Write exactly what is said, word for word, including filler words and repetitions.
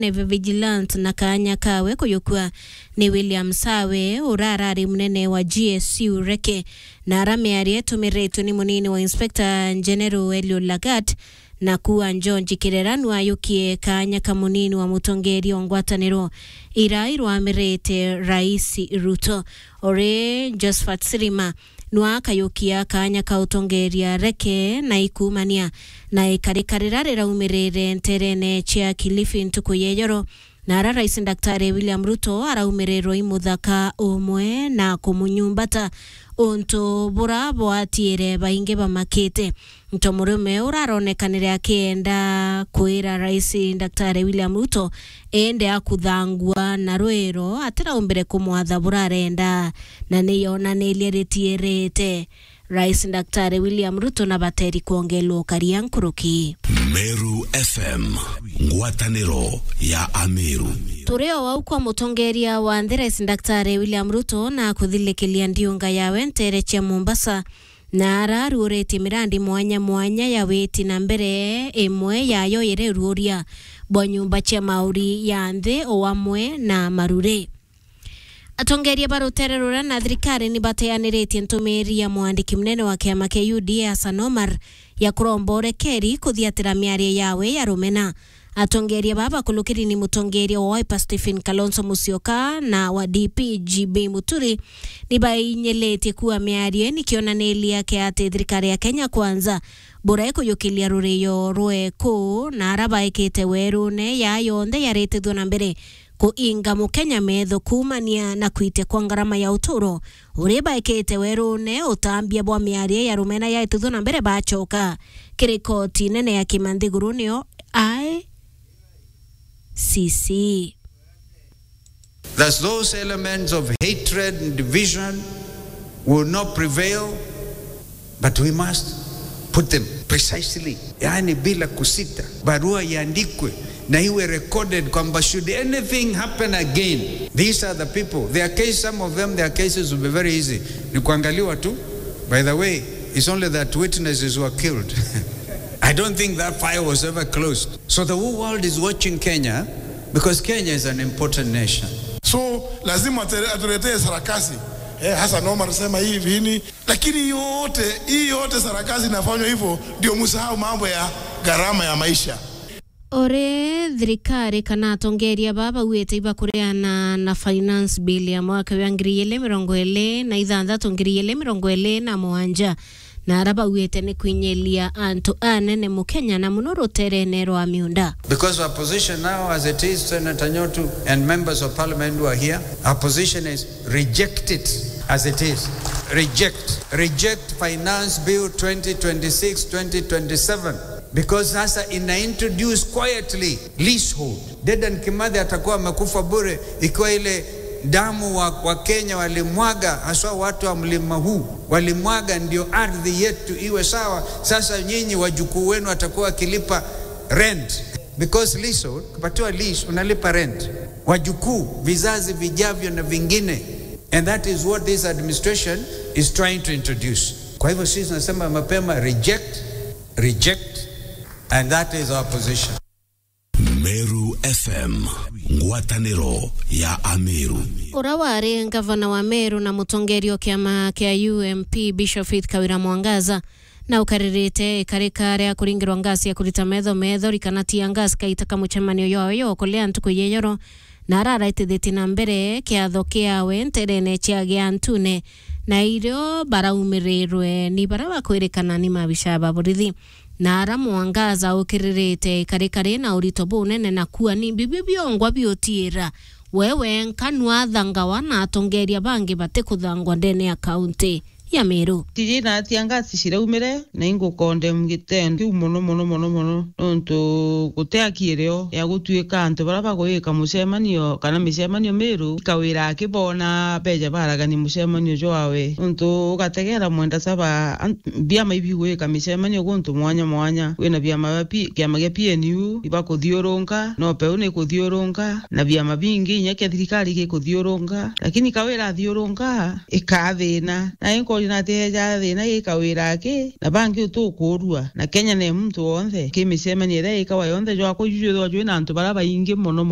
neve Vigilante na kaanya kawe kuyukua ni William Sawe, urarari munene wa G S U Reke, na ara miario itumiritwe ni munini wa Inspector General Elio Lagat, na kuua George Kirera nwayukie kaanya ka munini wa mutongeria wa ngwataniro ira irwamirite Rais Ruto. Uri Josephat Sirima nwa akayukia kaanya ka utongeria Reke na ikumania na ikarika rira riraumirire nterene cia Kilifi ntuku ya ijoro, na ara Rais Daktari William Ruto araumirirwe i muthaka umwe na kumunyumbata, untu bura bwatiire baingi bamakite. Nto murume uraronekanire akienda kwira Rais Daktari William Ruto ende akuthangua na rwiro atiraumbire kumwatha burarenda, na niyonanirie ritiirite Rais Daktari William Ruto na bateri kwongelwa ukaria nkuruki. Meru F M, ngwataniro ya Ameru. Turi o au kwa mutongeria wa nthi, Rais Daktari William Ruto na kuthilikilia ndiunga yawe ntere cia Mombasa, na araruuritie mirandi mwanya mwanya ya witi na mbere, imwe yayo iri ruuria bwa nyumba cia mauri ya nthi o amwe na maruri. Atongeria ba rutere ruria na thirikari ni bateaniritie ntumiri ya mwandiki munene wa kiama kia U D A Hassan Omar ya kuromba urekeri kuthiatira miario yawe ya rumena. Atongeria baba bakulukiri ni mutongeria wa Wiper Stephen Kalonzo Musyoka na wa D P G B Muturi ni bainyilitie kuua miario ni kionaniria kia ati thirikari ya Kenya Kwanza bura ikuyukiria rurio rweku na ara baikite werune ya yonthe yaritithua na mbere kuinga Mukenya metho kuumania na kuitia kwa ngarama ya uturo uri baikite werune. Utambia bwa miario ya rumena yaitithua na mbere bachoka kiri koti nene ya kimanthiguru niyo I C C. That those elements of hatred and division will not prevail, but we must put them precisely, yani bila kusita, barua iandikwe na iwe recorded kwamba should anything happen again, these are the people, their case, some of them, their cases will be very easy, ni kuangaliwa tu. By the way, it's only that witnesses were killed. I don't think that file was ever closed. So the whole world is watching Kenya because Kenya is an important nation. So lazima ate- atuletee sarakasi. Eh, Hassan Omar sema hii hivi hini, lakini yote hii yote sarakasi inafanywa hivyo ndio msahau mambo ya gharama ya maisha. Ore thirikari kana atongeria baba bauite ibakureana na finance bill ya mwaka wa ngiri igiri mirongo iri na ithanthatu, ngiri igiri mirongo iri na mugwanja, na ara bauite ni kwinyilia antu anene Mukenya na muno ruterene rwa miunda. Because our position now as it is, Senator Nyotu and members of parliament who are here, our position is reject it as it is. Reject. Reject Finance Bill twenty twenty-six, twenty twenty-seven. Because sasa ina introduce quietly leasehold. Dedan Kimathi atakuwa amekufa bure ikiwa ile damu wa, wa Kenya walimwaga, haswa watu wa mlima huu walimwaga, ndio ardhi yetu iwe sawa. Sasa nyinyi wajukuu wenu watakuwa wakilipa rent, because leasehold, ukipatiwa lease unalipa rent, wajukuu, vizazi vijavyo na vingine, and that is what this administration is trying to introduce. Kwa hivyo sisi tunasema mapema, reject, reject, and that is our position. Meru F M, ngwataniro ya Ameru. Ura wari ngavana wa Meru na mutongeria o kiama kia U M P, Bishop Faith Kawira Mwangaza, na ukaririte ikarika ria kuringirwa ngasi ya kurita metho methori kana tear gas kaita ka mucemanio jwawe jwa kulia ntuku ya ijoro, na araraitithitie na mbere kiatho kiawe nterene cia Giantune, na irio baraumirirwe ni baria bakwirikana ni maabisa ba borithi. Na ara Mwangaza ukiririte ikarikari na urito bunene na kuua ni bibio biongwa biutiira we wenka nwathangawa na atongeria bangi batikuthangwa ndene ya kaunti ya Meru. Tiji na tear gas ciraumire, na ingukondem gitendo kiu mono, mono, mono, mono, nontu guti aki irio ya gutuika antu baria bagwika mucemanio kana micemanio Meru, ikawira akibona beja baragani mucemanio jwawe. Nontu ugategera mwenda saba, an-, biama ibigwika micemanio guntu mwanya mwanya. Wina biama bia P-, kiama gia P N U ibakuthiurunka, no peu nikuthiurunka, na biama bingi inya kia thirikari gikuthiurunka, lakini kawira athiurunka ikathina. Na inko Natiejaa thina gikawira aki, na bangi utukurua. Na Kenya ni muntu wonthe, ki micemanio iria ikawa yonthe, jwakwa juju jwithwa jwi na antu baria baingi mono mono.